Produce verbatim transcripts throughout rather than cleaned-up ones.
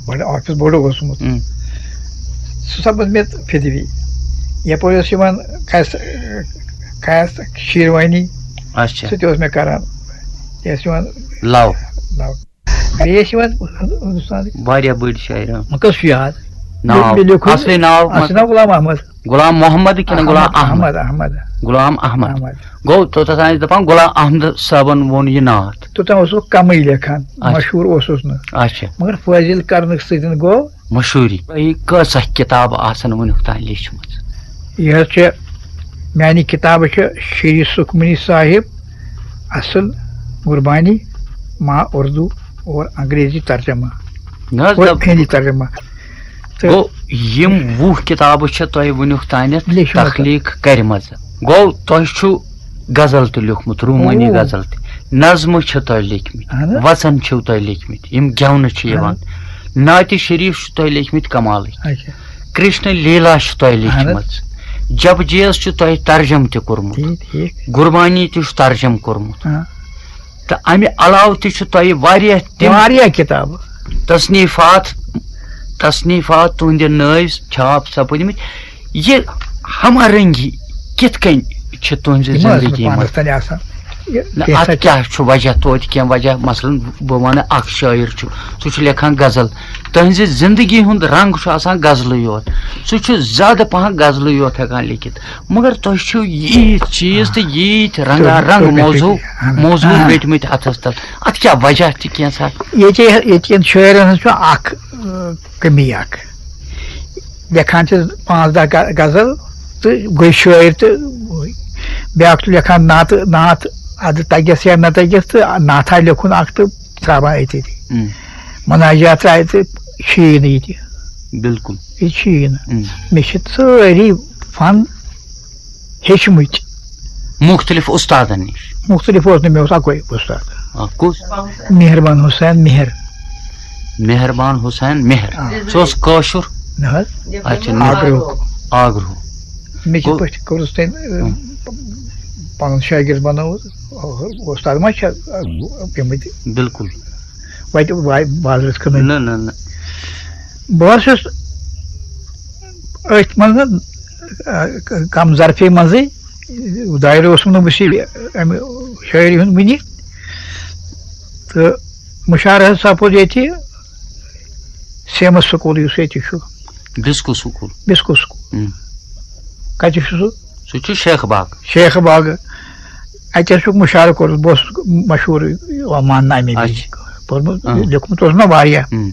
بڑٕ آفس بوٚڑ اوسمُت۔ ہم۔ سُہ سپُد مےٚ فِدوی۔ یپٲرۍ اوس یِوان قیس، قیس شیروانی، اچھا۔ سُہ تہِ اوس مےٚ کران۔ یہِ ٲسۍ یِوان لو۔ لو۔ بیٚیہِ ٲسۍ یِوان ہندوستانٕکۍ۔ واریاہ بٔڑۍ شٲعر، آ۔ وۄنۍ کُس چھُ یاد؟ ناو، مےٚ لیوٚکھُے اصلی ناو اصلی ناو غلام احمد۔ غلام محمد کِنہٕ غلام احمد؟ احمد، احمد۔ غلام احمد۔ احمد۔ گوٚو، توٚتتھ ٲسۍ دَپان، غلام احمد صٲبن ووٚن یہِ نعت۔ توٚتام اوسُس بہٕ کمٕے لیکھان، اچھا۔ مشہوٗر اوسُس نہٕ۔ اچھا۔ مگر فٲضِل کرنہٕ سۭتۍ گوٚو۔ مشہوٗری۔ تۄہہِ کۭژاہ کِتابہٕ آسن وٕنیُک تام لیچھمٕژ؟ یہِ حظ چھِ، میانہِ کِتابہٕ چھِ شری سُکمنی صاحب، اصل، قربانی، ماں اردو اور انگریزی ترجمہ۔ نہ حظ، اور نہ۔ ہندی ترجمہ۔ تہٕ گوٚو، یِم وُہ کِتابہٕ چھِ تۄہہِ وٕنیُک تانٮ۪تھ لیچھمٕژ۔ تخلیٖق کَرِمَژٕ۔ گوٚو، تۄہہِ چھُ غزل تہِ لیوٗکھمُت، روٗمٲنی او۔ غزل تہِ، نظمہٕ چھِ تۄہہِ لیکھمٕتۍ، اہن حظ۔ وَژَن چھِو تۄہہِ لیکھمٕتۍ، یِم گٮ۪ونہٕ چھِ یِوان، اہن۔ نعتِ شریٖف چھِ تۄہہِ لیکھمٕتۍ کمالٕکۍ، اچھا۔ کرشن لیلا چھِ تۄہہِ اہن حظ۔ لیکھمٕژ، جپجی یَس چھُ تۄہہِ ترجمہٕ تہِ کوٚرمُت، ٹھیٖک، ٹھیٖک۔ قربانی تہِ چھُ ترجمہٕ کوٚرمُت۔ ہاں۔ تہٕ اَمہِ علاوٕ تہِ چھُ تۄہہِ واریاہ تِم واریاہ کِتابہٕ۔ تصنیٖفات، تصنیٖفات تُہٕنٛدِ نٲوۍ چھاپ سپٕدمٕتۍ۔ یہِ ہم آہنگی کِتھ کٔنۍ چھِ تُہٕنٛزِ یِم ٲسۍ نہٕ زندگی منٛز؟ پانَس تانۍ آسان۔ یہِ نہ، کینٛژھا اَتھ کیٛاہ چھُ وجہ توتہِ؟ کینٛہہ وجہ، مثلاً، بہٕ وَنہٕ، اکھ شٲعر چھُ، سُہ چھُ لیکھان غزل، تُہٕنٛزِ زندگی ہُنٛد رنٛگ چھُ آسان غزلٕے یوت، سُہ چھُ زیادٕ پَہَن غزلٕے یوت ہٮ۪کان لیکھِتھ۔ مگر تۄہہِ چھِو ییٖتۍ چیٖز تہٕ ییٖتۍ رنگا رنگ تُہۍ، تُہۍ، موضوع، تُہۍ، اہن، موضوع اہن۔ بیٹھمٕتۍ اَتھَس تَل۔ اَتھ کیٛاہ وجہ چھِ کینٛژھا؟ ییٚتہِ، ییٚتہِ کٮ۪ن شٲعرَن ہٕنٛز چھُ اَکھ، ٲ، کٔمی اَکھ۔ لیکھان چھِ پانٛژھ دَہ غ-، غزل تہٕ گٔے شٲعر تہٕ بیٛاکھ چھُ لیکھان نعتہٕ، نعت اَدٕ تَگٮ۪س یا نہ تَگٮ۪س تہٕ نعتھا لیوٚکھُن اَکھ تہٕ ترٛاوان أتی۔ ہم۔ مناجات ترٛایہِ تہٕ چھُیی نہٕ ییٚتہِ۔ بِلکُل۔ ییٚتہِ چھُیی نہٕ۔ ہم۔ مےٚ چھِ سٲری فن ہیٚچھمٕتۍ۔ مُختٔلِف اُستادن نِش۔ مُختٔلِف اوس نہٕ، مےٚ اوس اَکُے اُستاد۔ آ، کُس؟ مہربان حسین مہر۔ مہربان حسین مہر۔ آ۔ سُہ اوس کٲشُر؟ نہ حظ۔ اچھا، نہ۔ آگرہُک۔ آگرہُک۔ مےٚ کِتھ گوٚو پٲٹھۍ کوٚرُس تٔمۍ، ہم۔ پنُن شٲگِرد بنووُس؟ اُستاد ما چھِ پیٚمٕتۍ؟ بِلکُل۔ وَتہِ وا-، بازرَس کٕنٕنۍ۔ نہ، نہ، نہ۔ بہٕ حظ چھُس أتھۍ منٛز، آ، کم ظرفی منٛزٕے، دایرٕ اوسُم نہٕ بہٕ چھُس اَمہِ شٲعری ہُنٛد وٕنہِ۔ تہٕ مُشارٕ حظ سپُد ییٚتہِ سیمس سکوٗل، یُس ییٚتہِ چھُ۔ Biscoe school. Biscoe school. ہم۔ کَتہِ چھُ سُہ؟ سُہ چھُ شیخ باغ۔ شیخ باغ۔ اَتہِ حظ چھُکھ مُشارٕ کوٚرمُت، بہٕ اوسُس مشہوٗر ماننہٕ اَمہِ وِزِ۔ اچھا۔ پوٚرمُت، اہم۔ لیوٚکھمُت اوس مےٚ واریاہ۔ ہم۔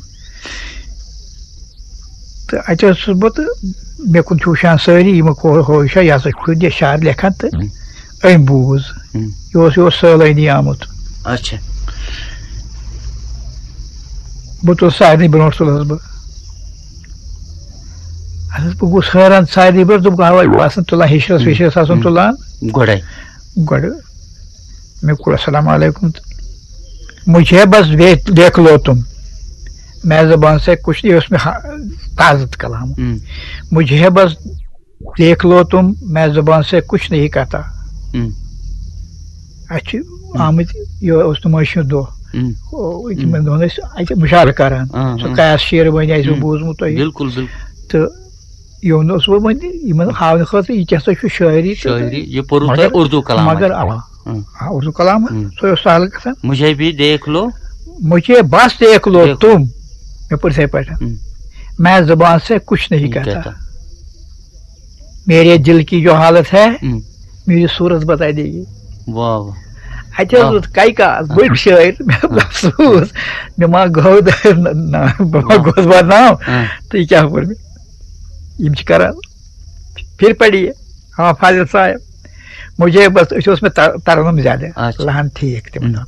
تہٕ اَتہِ اوسُس بہٕ تہٕ مےٚ کُن چھِ وٕچھان سٲری، یِم ہو-، ہو یہِ چھا، یہِ ہسا چھُ یہِ شعر لیکھان تہٕ ہم۔ أمۍ بوٗز۔ ہم۔ یہِ اوس، یہِ اوس سٲلٲنی آمُت۔ اچھا۔ بہٕ تُلہٕ سارنٕے برونٛٹھ تُلہٕ حظ بہٕ۔ اَدٕ حظ، بہٕ گوٚوُس حٲران سارنٕے برونٛٹھ، دوٚپُکھ، اَوَے، بہٕ آسَن تُلان ہِشرَس ہم۔ وِشرَس آسَن ہم۔ تُلان۔ گۄڈَے۔ گۄڈٕ۔ مےٚ کوٚر السلام علیکم تہٕ مجھے بس دیکھ، دیکھ لو تم، میں زبان سے کچھ نہیں، اوس مےٚ ہا-، تازٕ کلام۔ ہم۔ مجھے بس دیکھ لو تم، میں زبان سے کچھ نہیں کہتا۔ ہم۔ اَسہِ چھِ ہم۔ آمٕتۍ، یہِ اوس نُمٲیشہِ ہُنٛد دۄہ۔ ہم۔ او، تِمن ہم۔ دۄہن ٲسۍ اَتہِ مُشاعرٕ کران۔ آ، سُہ آ۔ قیاس شیروٲنی آسہِ ہم۔ بوٗزمُت تۄہہِ۔ بِلکُل، بِلکُل۔ تہٕ یہِ اوٚن اوس وۄنۍ یِمن ہاونہٕ خٲطرٕ یہِ کیٛاہ سا چھُ شٲعری تہٕ شٲعری، یہِ پوٚرُو مگر، تۄہہِ اردو کلام مگر منٛز۔ اَوا، ہم۔ آ، اردو کلام، ہم۔ سُہ اوس سہل گژھان۔ مجھے بھی دیکھ لو۔ مجھے بس دیکھ لو دیکھ لو۔ تم۔ مےٚ پوٚر یِتھَے پٲٹھۍ۔ ہم۔ میں زبان سے کچھ نہیں نہیں کہتا۔ کہتا۔ میرے دل کی جو حالت ہے، ہم۔ میری صورت بتا دیگی۔ واہ، واہ۔ اَتہِ حظ واہ۔ اوس کَے کاس، بٔڑۍ شٲعر، مےٚ افسوٗس، مےٚ ما گوٚو دٲرۍ نہ، نہ، بہٕ ما واہ۔ گوس بدنام۔ ہاں۔ تہٕ یہِ کیٛاہ پوٚر مےٚ؟ یِم چھِ کران، پھر پڑھیے، ہاں، فاضل صاحب، مجھے بس، أسۍ اوس مےٚ تر-، ترنُم زیادٕ، اچھا۔ لہن ٹھیٖک تِمن ہم۔ دۄہن۔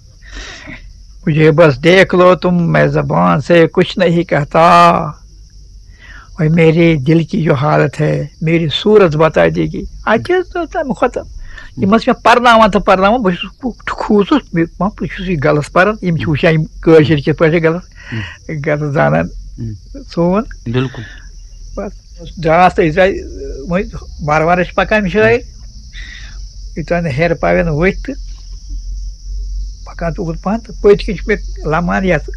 مجھے بس دیکھ لو تم، میں زبان سے کچھ نہیں کہتا۔ اور میرے دل کی جو حالت ہے، میری صورت بتا دیگی۔ اَتہِ حظ تہٕ تَمہِ کھۄتہٕ یِم ٲسۍ مےٚ پَرناوان تہٕ پَرناوان، بہٕ چھُس کُ-، کھوٗژُس، مےٚ، بہٕ چھُس یہِ غلط پَران، یِم چھِ وٕچھان یِم کٲشِرۍ کِتھ پٲٹھۍ چھِ غلط، ہُم۔ غلط زانان ہُم۔ سون۔ بِلکُل۔ بَس، درٛاس تہٕ أسۍ درٛاے، وۄنۍ وارٕ وارٕ ٲسۍ پَکان شٲعر، یوٚتام نہٕ ہیرٕ پاوٮ۪ن ؤتھۍ تہٕ پَکان تہٕ اوٚکُن پَہَن تہٕ پٔتۍ کِنۍ چھُ مےٚ لَمان یَتھ